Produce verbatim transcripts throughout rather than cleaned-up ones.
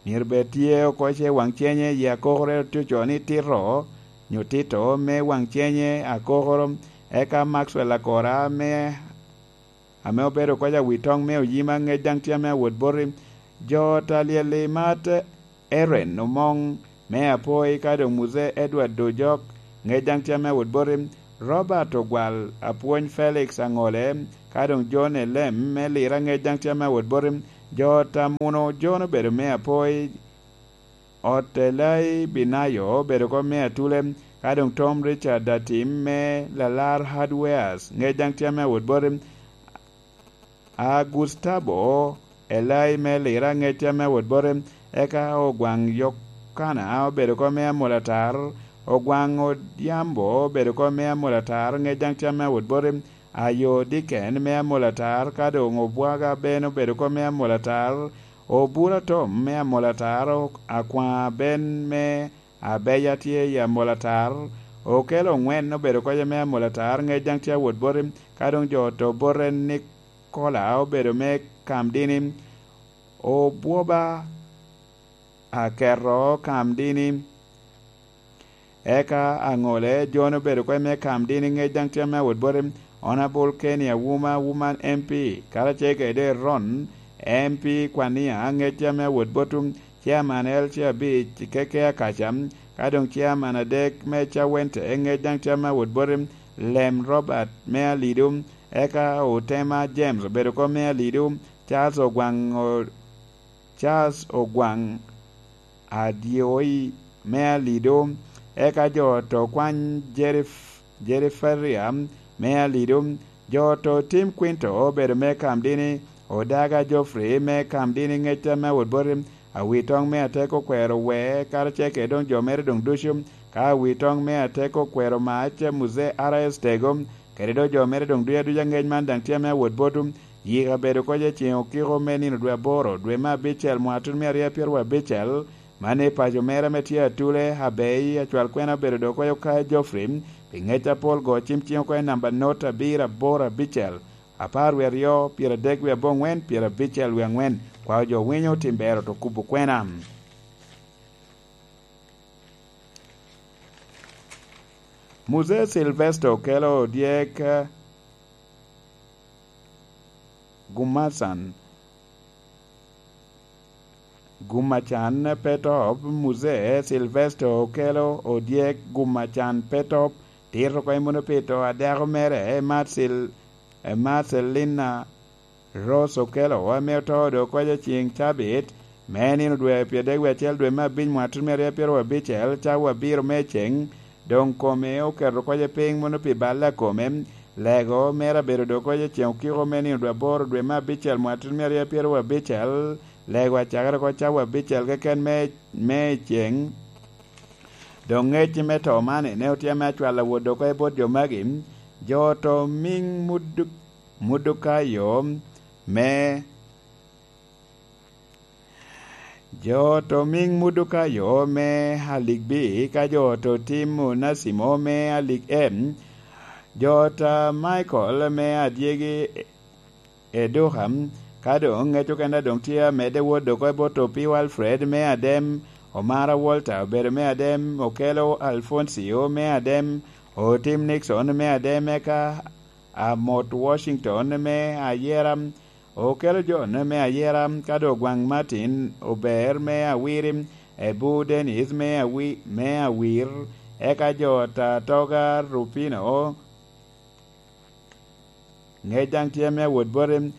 Myero bed tye oko ce waŋ cenye i akokoro, tye ocoo ni Tito, nyo Tito me waŋ cenye akokoro, eka Maxwell Akora me, ame obedo kɔc awi toŋ me oyima, ŋec daŋ tye ame awot boti. Jo ta lyel i mat, Eren Omoŋ me Apoi, ka doŋ Muze Edward Dojok, ŋec daŋ tye ame awot boti. Robert Ogwal, apwony Felix Aŋole, ka doŋ John Elem me Lira, ŋec daŋ tye ame awot boti. Jo ta Muno, John obedo me Apoi, Ot Elai Binayo obedo oko me Atule, ka doŋ Tom Richard Atim me Lalar Hardwares, ŋec daŋ tye ame awot boti. A Gustavo Elai me Lira, ŋec tye ame awot boti, eka Ogwaŋ Yokana obedo oko me Amolatar, Ogwaŋ Odhiambo obedo oko me Amolatar, ŋec daŋ tye ame awot boti. Ayo Diken me Amolatar, ka doŋ Obwaga Ben obedo oko me Amolatar, Obura Tom me Amolatar, Akwaŋ Ben me Abeya tye i Amolatar, Okello Oŋwen obedo kɔc ame Amolatar, ŋec daŋ tye awot boti, ka doŋ jo to bote Nikola obedo me Kamdini, Obwoba Aketo Kamdini, eka Aŋole John obedo kɔc me Kamdini, ŋec daŋ tye ame awot boti. Honorable Kenny Awuma, Woman M P, karacel kede Ron M P Kwania, ŋec tye ame awot boti. Chairman L C abic, Keke Akaca, ka doŋ chairman adek me Cawente, ŋec daŋ tye ame awot boti. Lem Robert me Alido, eka Otema James obedo oko me Alido, Charles Ogwaŋ, o-, Charles Ogwaŋ Adyoi me Alido, eka jo to kwany Jerif-, Jeriferia me Alido, jo to Tim Quinto obedo me Kamdini, Odaga Geoffrey me Kamdini, ŋec tye ame awot boti. Awitoŋ me Ateko okwero wee, karacel kede doŋ jo mere doŋ ducu, ka Awitoŋ me Ateko okwero mac, Muze R S Tego, kede doŋ jo mere doŋ ducu aduca, ŋec man daŋ tye ame awot boti. Yika bedo kɔc i ceŋ okiko me nino dwe aboro, dwe me abicel, mwaka tutumia aryo apyeto abicel, man i paco mere ame tye Atule, Abei, acwal kwena obedo doŋ kɔc okayo Geoffrey, pi ŋec apol go cim ciŋ oko i namba not abiro aboro abicel, apar wie aryo, pyeradek wie aboŋwen, pyerabicel wie aŋwen. Kwao jo winyo, tim ber oto kubo kwena. Muze Silvester Okello odyek, Gumacan, Gumacan Petop, Muze Silvester Okello odyek, Gumacan Petop, tito oko i Munopito, adako mere, Marcel-, Marcelina Rose Okello, ame oto doŋ kɔc i ceŋ cabit, me nino dwe pyeradek wie acel, dwe me abic, mwaka tutumia aryo apyeto abicel, cawa abiro me ceŋ, doŋ kome oketo kɔc piny mono pi bal a kome. Lego mere abedo doŋ kɔc i ceŋ okiko me nino dwe aboro, dwe me abicel, mwaka tutumia aryo apyeto abicel. Lego acakere oko cawa abicel keken me, me ceŋ. Doŋ ŋec me to man, ene otye ame acwal awot doŋ kɔc bot jo magi, jo to miŋ Mudu-, Mudukayo me Jo to miŋ Mudukayo me Alik B, ka jo to tim Onasimo me Alik M, jo ta Michael me Adyegi Eduka, ka doŋ ŋec okene doŋ tye amedde wot doŋ oko i bot Opiyo Alfred me Adem, Omara Walter obedo me Adem, Okello Alfoncio me Adem, Otim Nixon me Adem, eka Amot Washington me Ayera, Okello John me Ayera, ka doŋ Ogwaŋ Martin Ober me Awiri, Ebu Dennis me Awi-, me Awir, eka jo ta Toga Rupino, ŋec daŋ tye me awot boti.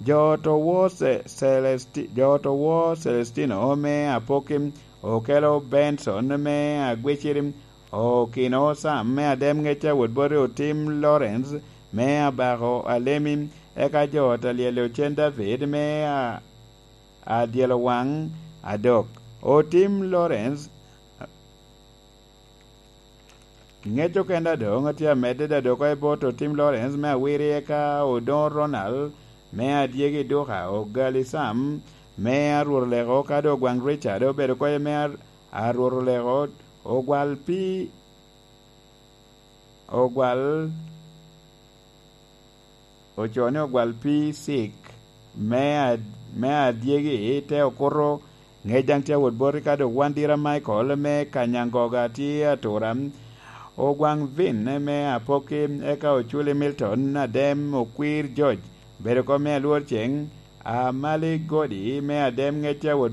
Jo to wo Ce-, Celesti-, jo to wo Celestino me Apoki, Okello Benson me Agwiciri, Okino Sam me Adem, ŋec awot boti, Otim Lawrence me Abako Alemi, eka jo ta lyel Ocen David me A-, Adyelo Waŋ Adok. Otim Lawrence, ŋec okene a doŋ tye amedde da doŋ oko i bot Otim Lawrence me Awiri, eka Odoŋo Ronald me Adyegi Duka, Ogali Sam me Arwot Oleko, ka doŋ Ogwaŋ Richard obedo oko me Ar-, Arwot Oleko, Ogwal Pi-, Ogwal, ocoo ni Ogwal Pi Cik me Ad-, me Adyegi, te okuto Ŋec daŋ tye awot boti ka dok wan dira Michael me Kanyangoga tye atura, Ogwaŋ Vin me Apoki, eka Oculi Milton Adem, Okwir George, bedo kom me Alwor Ceŋ, Amali Godi me Adem. Ŋec tye awot